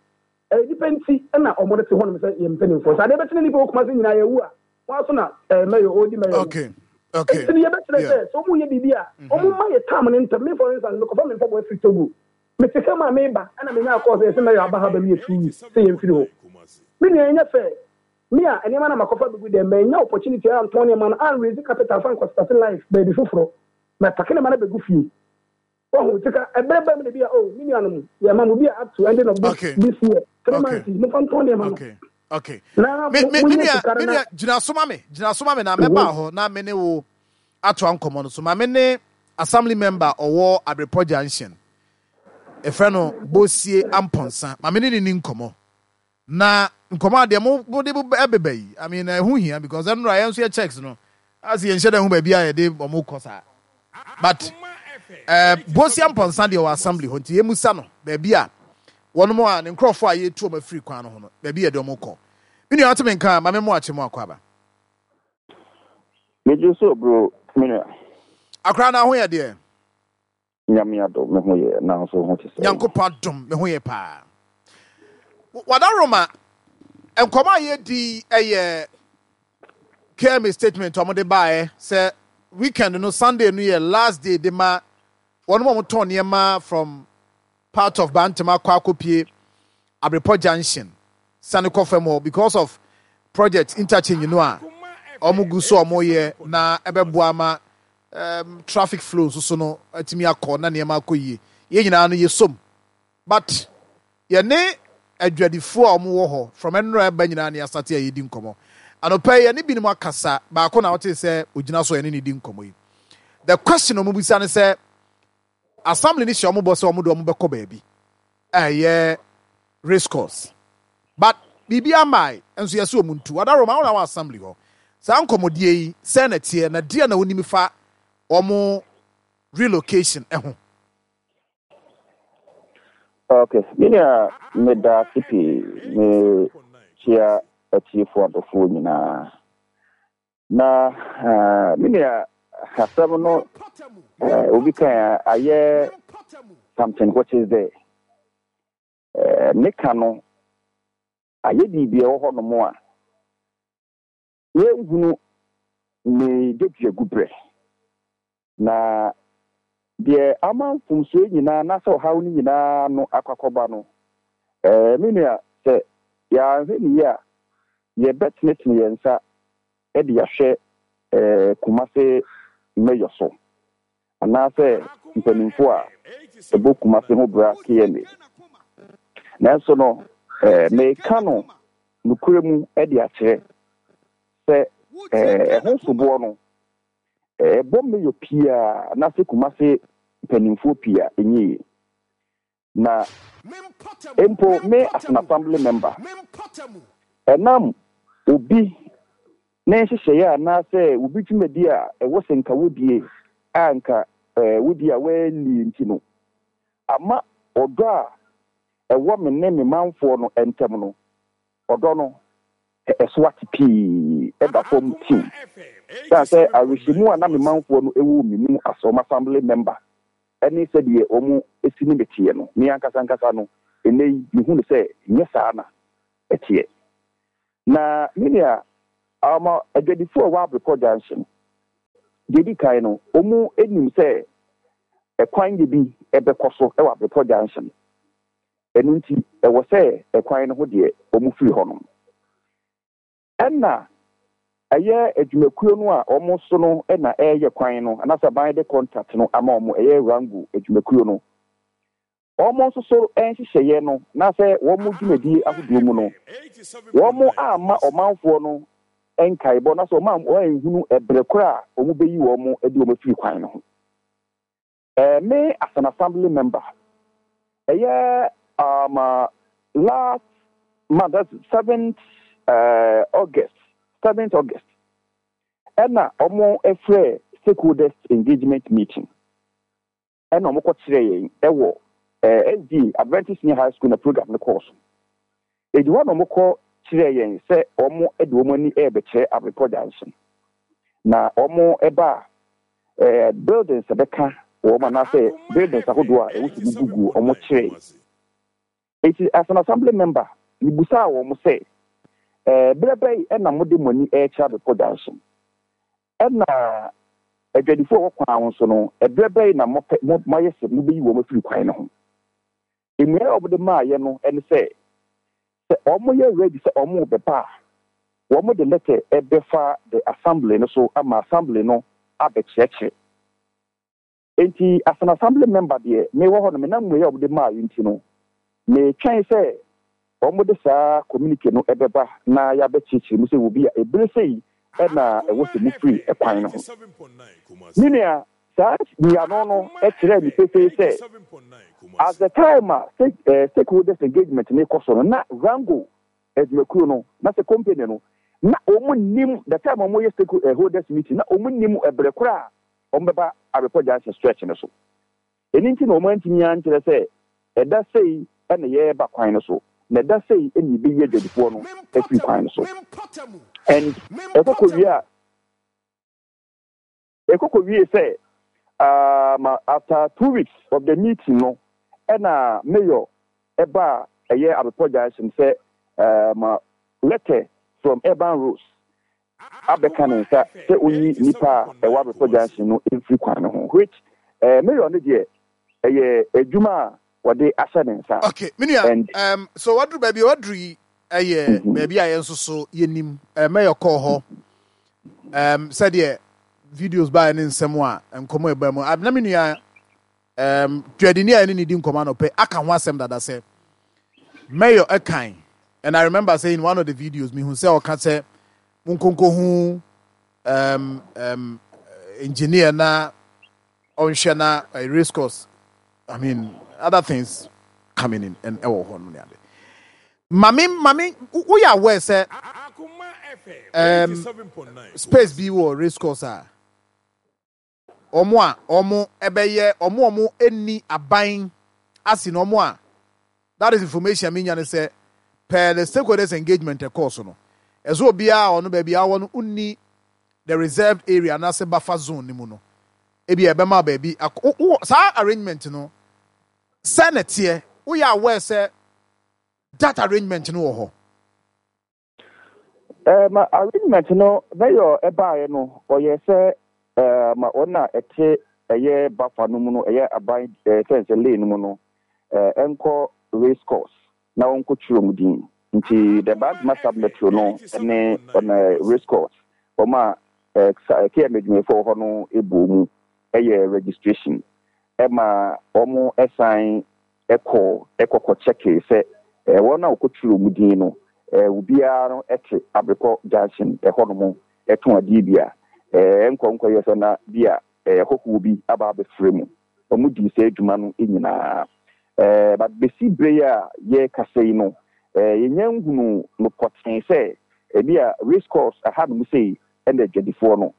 Ɛyɛ nnipa nti na wɔn te hɔnom sɛ yɛn mpanimfoɔ. Sɛ adeɛ bɛkye na nnipa wɔ Kumasi nyinaa yɛawu a, wɔn ara so na ɛɛ mɛyɔ, ɔredi mɛyɔ no. Okay. Okay. Nti no yɛbɛkyerɛ Yeah. sɛ, sɛ wɔyɛ biribi a, wɔn mma yɛ tam no ntɛm. Me for instance, mekɔfa me mpaboa firi Togo. Mete car mu a mereba ɛna menyaa call sɛ yɛse mɛyɔ aba ha bɛmeyɛ 2 weeks sɛ yɛmfiri hɔ. Me nua ɛnyɛ fair. Me a nneɛma no a makɔfa abɛgu dɛm, mannya opportunity antɔn nneɛma no, an raise capital fa nkɔ starte life baabi foforɔ. Mapake nneɛma no abɛgu fie. Wahu, nti ka ɛberɛ ba mu na bi a, oh, me nuanom, yɛma mo bi a up to ending of this, Okay. this year, three Okay. months yi, momfa ntɔn nneɛma no. Okay. Okay. Na Me mo, me me monyɛ nua sika no me na. nua gyina so ma me gyina so ma me na mɛba hɔ na me ne wo atoa nkɔmmɔ no so. Ma me ne assembly member ɔwɔ Abrepɔ Junction. Efrɛ no Bosie Ampɔnsa. Ma me ne ne ni nkɔmmɔ. Na nkɔmɔ a deɛ mo mo de ɛbeba yi, I mean ɛho hia because ɛnora yɛn nso yɛ checks no, ase yɛn nhyɛ dɛ ho baabi a yɛde wɔn kɔ saa. But ɛɛ eh, Bosia Mpɔnsa deɛ wɔ assembly hɔ nti yɛmusa no baabi a wɔn mo a ne nkurɔfoɔ a yɛtu wɔn afiri kwan no ho no baabi yɛde wɔn kɔ. Me nua ate me nka ma me mo akye mo akɔ aba. Megye so bro me nua. Akora na ho yɛ deɛ. Nyame adom me ho yɛ nanso wo ho te sɛn? Nyankopɔn adom me ho yɛ paa. Wadaroma, nkɔmɔ a yɛdi yi yɛ KMA statement a wɔde baeɛ sɛ weekend no Sunday no yɛ last day de ma wɔn a wɔtɔn nneɛma from part of Bantama akɔ akɔpie Abrepɔ Junction sane kɔ fam hɔ because of project interchange no a wɔn gu so a wɔyɛ na ɛbɛboa ama um, traffic flow nso so no atumi akɔ na nneɛma akɔ yie. Yɛn nyinaa no yɛsom but yɛne adwadifoɔ a wɔwɔ hɔ from ɛnora ɛba nyinaa ne asate a yɛdi nkɔmmɔ. Anɔpa yi yɛne binom akasa, baako na wotee sɛ ogyina so a yɛne ne di nkɔmmɔ yi. The question a wɔbisa ne sɛ Assembly no hyɛ wɔn bɔ sɛ wɔn de wɔn bɛkɔ baabi a ɛyɛ race course but biribiara mmae nso yɛse wɔn ntu. Ɔdaroma wo na wɔ assembly hɔ saa nkɔmmɔdie yi sɛn na ɛteɛ na deɛ na wonim fa wɔn relocation ho? Ok, me nua meda ase pii, me kyia atiefoɔ adɔfoɔ nyinaa. Na me nua asɛm no obi kan ayɛ something which is there. Ne ka no ayɛ biribi ɛwɔ hɔ nom a yɛnhunu ne dwaduagu berɛ. Na deɛ ama mfomsoɔ yi nyinaa anaasɛ ɔhaw no nyinaa ano akɔ akɔba no, me nua, sɛ yɛanhwɛ no yie a, yɛbɛtenetene yɛn nsa de ahwɛ Kumase mayor so, anaasɛ mpanimfoɔ a ɛbɔ Kumase ho bra KMA. Nanso no, meka no nokorɛ mu de akyerɛ sɛ ɛho soboɔ no, Ɛbɔ mayor pii a anaasɛ Kumase mpaninfoɔ pii a ɛnyɛ yie. Na mpo me as an assembly member, ɛnam obi ne nhyehyɛeɛ anaasɛ obi dwumadie a ɛwɔ sɛ nka wodie a nka wodie a wɔannie nti no, ama ɔdɔ a ɛwɔ me ne me manfoɔ no ntam no, ɔdɔ no ɛso ate pii da fam tiw. Esiane sɛ awerɛhyɛmu a na me manfoɔ no wɔ wɔ me mu as wɔn assembly member ne sɛdeɛ wɔsi ne me teɛ no, me ankasa ankasa no, ɛnnɛ yi mehu no sɛ nyɛ saa na ɛteɛ. Na me nua, ama adwadifoɔ a ɛwɔ Abrepɔ Junction, deɛ ɛdi kan no, wɔn nim sɛ ɛkwan yɛ bi bɛkɔ so wɔ Abrepɔ Junction. Ɛno nti, ɛwɔ sɛ ɛkwan no ho deɛ wɔn firi hɔnom. Ɛna ɛyɛ adwumakuo no a wɔn so no na ɛreyɛ kwan no, anaasɛ aban de contract no ama wɔn, ɛyɛ Rango adwumakuo no. Wɔn nso so nhyehyɛeɛ no anaasɛ wɔn dwumadie ahodoɔ mu no, wɔn amma ɔmanfoɔ no nkaebɔ anaasɛ wɔn amma wɔanhunu ɛberɛ korɔ a wɔbɛyi wɔn de wɔn afiri kwan no ho. Me as an assembly member, ɛyɛ um, last month, that's 7th August, 7th August, ɛna wɔn frɛ stakeholders engagement meeting. Ɛna wɔn kɔ kyerɛɛ yɛn wɔ SDA, Adventist Senior High School na program no kɔɔ so. Edi hɔ na wɔn kɔ kyerɛɛ yɛn sɛ wɔn de wɔn ani rebɛkyerɛ Abrepɔ Junction. Na wɔn ba a, buildings ɛbɛka wɔn anaasɛ buildings ahodoɔ a ɛwɔ sɛ gugu wɔn kyerɛɛ. Enti as an assembly member, mebusaa wɔn sɛ, berɛ bɛn na mode mo ani rekyerɛ Abrepɔ Junction? Ɛnna adwadifo a wɔwɔ kwan ho nso no, ɛberɛ bɛn na mopɛ, mo, moayɛ sɛ mobɛyi wɔn afiri kwan no ho? Mmuaeɛ a wɔde maeɛ no ne sɛ, sɛ wɔyɛ ready sɛ wɔrebɛba a, wɔde lɛtɛ bɛfa the assembly no so ama assembly no abɛkyerɛkyerɛ. Enti as an assembly member deɛ, mewɔ hɔ no, menam mmuaeɛ a wɔde maeɛ nti no, metwɛn sɛ wɔde saa communique no bɛba na yɛabɛkyerɛkyerɛ mu sɛ wɔ bi a ɛberɛ sei na ɛwɔ sɛ mofiri kwan no ho. Me nua, saa nyiano no kyerɛɛ me pefee sɛ at the time a stakeholders engagement no rekɔ so no, na Rango adwumakuo no, na sɛ company no, na wɔn nnim, the time a wɔyɛ stakeholders meeting, na wɔn nnim ɛberɛ korɔ a wɔbɛba Abrepɔ Junction stretch no so. Ɛno nti na wɔantumi ankyerɛ sɛ ɛda sei na yɛreba kwan no so, na ɛda sei na yɛbɛyi adwadifoɔ no afiri kwan no so. And ɛkɔ kɔwie a, ɛkɔ kɔwie sɛ um, after 2 weeks of the meeting no, ɛna mayor ɛbaa ɛyɛ Abrepɔ Junction sɛ letter from Urban Roads abɛka ne nsa sɛ onyi nnipa a ɛwɔ Abrepɔ Junction no mfiri kwan no ho, which mayor no deɛ, ɛyɛ adwuma a wɔde ahyɛ ne nsa. Okay, me nua, And so waduru baabi a waduru yi ɛyɛ baabi a yɛn nso so yɛnim. Mayor kɔɔ hɔ sɛdeɛ videos baeɛ ne nsɛm a nkɔmmɔ ɛbaa mu. Na me nua dwadini a ɛne ne di nkɔmmɔ anɔpɛ aka ho asɛm dada sɛ mayor ɛkan, and I remember saying in one of the videos mehu sɛ ɔka sɛ monkonko hu engineer na ɔnhwɛ na race course, I mean, other things coming in and ɛwɔ hɔ no ne ade. Mame woyɛ aware sɛ space bi wɔ race course a wɔn a wɔn ɛbɛyɛ wɔn a wɔn nni aban ase na wɔn a, that is information a menya ne sɛ per the stakeholders engagement ɛkɔɔ so no, ɛsɛ obiara a ɔno baabi a ɔwɔ no nni the reserved area anaasɛ buffer zone no mu no, ebi a ɛbɛma baabi akɔ wɔ saa arrangement no sɛ na ɛteɛ. Woyɛ aware sɛ that arrangement no wɔ hɔ? Ma arrangement no mayor ɛbaeɛ no, ɔyɛ sɛ ma wɔn a ɛte ɛyɛ buffer no mu no, ɛyɛ aban sɛ lane no mu no, ɛnkɔ race course na wɔnkɔ twerɛ mu din. Nti the Bantama sub metro no ne ɔna race course, wɔn a KM adwumayɛfoɔ wɔ hɔ no ɛbɔ mu ɛyɛ registration ɛma wɔn ɛsan ɛkɔ ɛkɔkɔ kyɛke sɛ wɔn a wɔkɔtwerɛ mu din no, obiara no ɛte Abrepɔ Junction ɛhɔnom ɛtɔn adeɛ bi a ɛnkɔ nkɔyɛ sɛ na bi a hɔhoɔ bi aba abɛfrɛ mu. Wɔn dii saa adwuma no nyinaa. But bɛsi berɛ yi a yɛrekasa yi no, yɛnya nhunu no pɔtee sɛ ebi a race course ɛhanom sei ɛna adwadifoɔ no.